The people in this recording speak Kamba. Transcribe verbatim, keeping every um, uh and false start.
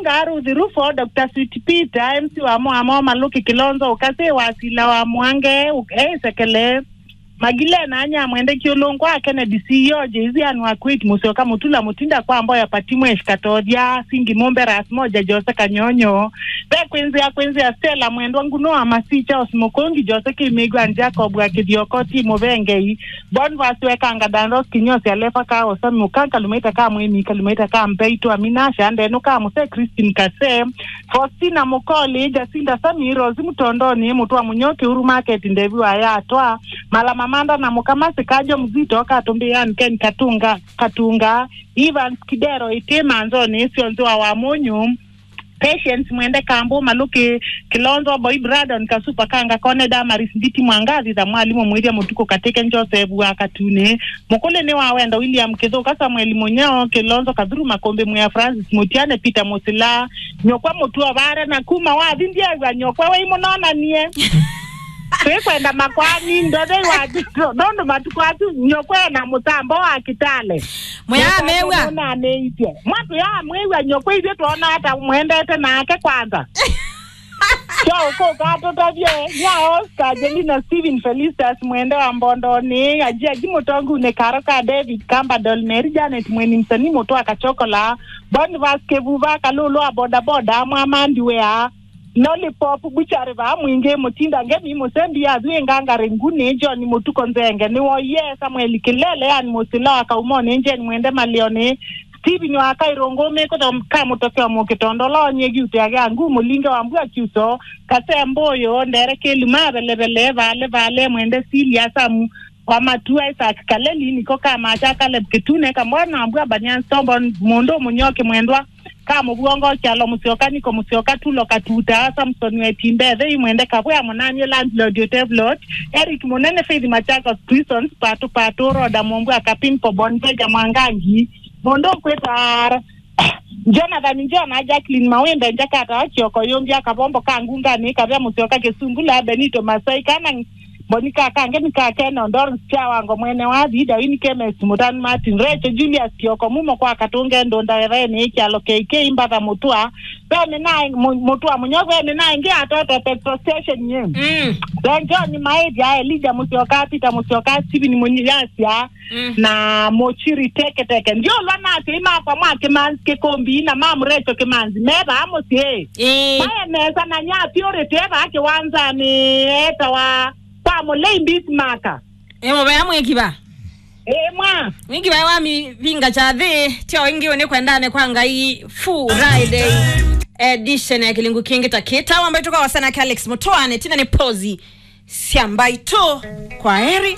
Nga Ruth Rufo, Doctor Sweet Peter, M C wa Moa Moa Maluki Kilonzo, Ukasi wa Sila wa Mwange, uk-, eh, Sekele. Magile na anya mwende kiulungwa Kennedy C E O, Jay-Z and wa Quit, Musyoka Mutula Mutinda kwa Mboya Patimwesh Katothia, Singi Mumbe Ras Moja, Jose Kanyonyo. Be kwinzia, kwinzia Stella Mwendwa Nguno wa Masi, Charles Mukungi, Jose Kimigwa, Jacob wa Kithioko, Timo Bengei. Bonvas wekanga Danros Kinyosi Alefa ka Osami Ukanka Lumaita ka Mwimi Kalumaita ka Mpeito Amina Shande no ka Muse Christine Kase. Faustina Mukoli, Jacinta Sami, Rose Mutondoni, Mutwa Munyoki, Uru Market, Ndevi wa Yatwa, Mala Mamanda na Mukamasi, Kajo Mzito, Katumbi Ann Ken Katunga, Katunga, Evans Kidero, Ite Manzoni, Sionzi wa Wamunyu, Patience Mwende Kambu, Maluki Kilonzo, Boy Bradon, Kasupa Kanga, Kone Damaris, Nditi Mwangathi, tha Mwalimu Mwithia Mutuku Katike, Joseph wa Katune, Mukuli ni wa Wendo, William Kithuka, Samuel Munyao, Kilonzo Kathuru, Makombe Mwea, Francis Mutiane, Peter Musila, Nyokwa Mutua Vare, na kuma wathi ndiegwa Nyokwa wei munonanie. Twikwenda makwani, ndothei wa ndondo matuku asu, Nyokwa na mutambo wa Kitale. Mwea amewa. Nonanĩitye. Mwatwĩa amwĩw'a Nyokwa ithyĩ twona ata mwendete nake kwanza. Kyo ũkũka tũtavye, ya Oscar, Angelina, Steven, Felicitas, Mwende wa Mbondoni, Ajiaji Mũtongunĩ, Karo ka David, Kamba Doll, Mary Janet, Mweni Msanii, Mũtwa Kachokola, Boniface Kĩvuva, Kalũlũ wa Bodaboda, Mwamandi Wea, Lollipop, Buchari va Mwingĩ, Mũtinda Ngemi, Mũsembi, Athui Ngangare, Nguni, John Mũtuko Nzenge, nĩwoie, Samuel Kilele, Ann Mũsila wa Kaumoni, Jane Mwende Malioni, Steven wa Kairũngũ, Mĩkũtho ka Mũtokeo Mũkĩtondo, Lonye Giute Agĩa Nguu, Mũlinge wa Mbua Kiuso, Kase Mbũyũ, Ndere Kĩlima, Velevele, Vale Vale, Mwende Silia, Samu wa Matua, Isaac Kaleli, Niko ka Macha, Caleb Kitune, Kambwana wa Mbua, Banyani Stombo, Mũndũ Mũnyoki Mwendwa, ka Mũvuongo, Kyalo Mũsyoka, Niko Mũsyoka, Tulo Katuta, Samson Wetimbe, Thei Mwende Kavwea, Mũnanie Landlord, Otevlot, Eric Mũnene, Faith Machakos, Prisons, Patu Patu, Roda Mũmbua, Kapin Pobon, Beja Mwangangi, Mũndũ ũkwĩta Jonathan Njona, Jacqueline Mawimbe, Njakata wa Kioko, Yũmbya Kavombo ka Ngungani, Kavya Mũsyoka Kĩsungula, Benito Masai, kana Mboni ka Kange nĩ ka Keno, Doris Kyawango, mwene wa Thida, Winnie Kemes, Mũtanu Martin, Rachel Julius Kioko, Mumo kwa Katunge, Ndũnda Wethaenĩ, Kyalo K K, Mbatha Mũtwa, Vene na Mu-, Mũtwa Mũnyo, Vene na ĩngĩ atoto petrol station yĩ. Mm. Then John Maĩthya, Elijah Mũsyoka, Peter Mũsyoka, Stephen Mũnyasya, Mm. na Mũchiri Teketeke. Ndiolwa na asyai makwa mwa Kĩmanzi Kĩkũmbi na ma Mũrecho Kĩmanzi, me vaa mũsyĩ. Ĩĩ. Maye mesa na nya Purity e vaa kĩwanzanĩ, etawa kwa Mũlei Bismarck. Ĩ mũvea mwĩkiva. Ĩ mwa. Mwĩkiva wa mivinga kya thĩ, tyo ĩngĩ ũnĩ kwendane kwa Ngai Friday edition ya kĩlingu kĩngĩ ta kĩta. Wamba ituka wasana Alex Mũtũane, tina nĩ pozi sya mbaitũ. Kwa heri.